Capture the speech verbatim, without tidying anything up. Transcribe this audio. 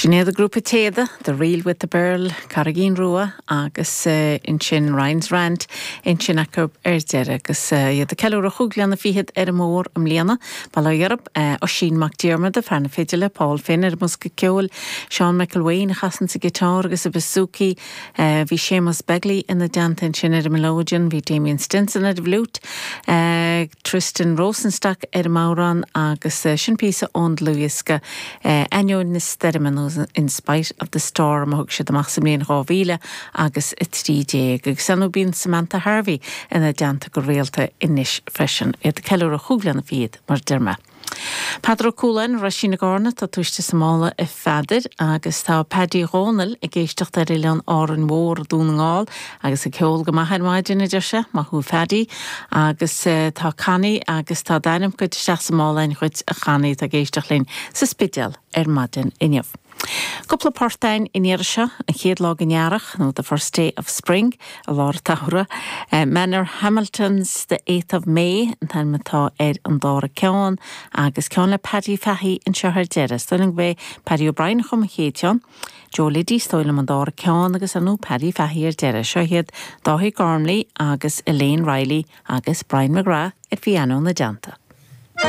Sin iad an grúpa Téada, The Reel with the Birl, Carraigín Rua agus uh, ansin Ryan's Rant ansin acu ar deireadh agus uh, iad ag ceiliúradh chúig bliana fichead ar an mbóthar i mbliana, Bail ó Dhia orthu uh, Oisín Mac Diarmada fear na fidile, Paul Finn ar bhosca ceoil, Seán McElwain a chasann an giotár agus an bouzouki, uh, bhí Séamus Begley ina dteannta ansin ar an melodeon, bhí Damien Stinson ar an bhfliúit, uh, Tristan Rosenstock ar an mbodhrán agus uh, sin píosa ón dlúthdhiosca uh, Ainneoin na Stoirme nó in spite of the storm a thug siad amach sa mbliain dhá mhíle agus a trí déag agus anú bíonn Samantha Harvey ina dteannta go rialta anois freisin iad ag ceiliúradh chúig bliana fichead mar a deir mé. Peadar Ó Cualáin Roisín na Gárna tá tuiste samála i feadidir agus tá Paddy Rónal ag éisteacht ar Oileán Árainn Mhór Dún na nGall agus ag ceol go maith ar maidin a deir sé maith thú Paddy agus uh, tá cannaí agus tá d'ainm go isteach sa mála chuid a channaí tá ag éisteacht linn sa Spidéal ar maidin inniu. Cúpla port againn an iarraidh seo an chéad lá den earrach nó the first day of spring a lár tahra. Uh, Manorhamilton's the eighth of May an t-ainm atá ar an dara ceann agus ceann le Paddy Fahey anseo ar deireadh. Stoling bé Paddy O'Brien chum an chéad cheann. Joe Liddy stoil an dara ceann agus anú Paddy Fahey ar deireadh seo hiad Dáithí Gormley agus Elaine Riley agus Brian McGrath ar piano ina dteannta.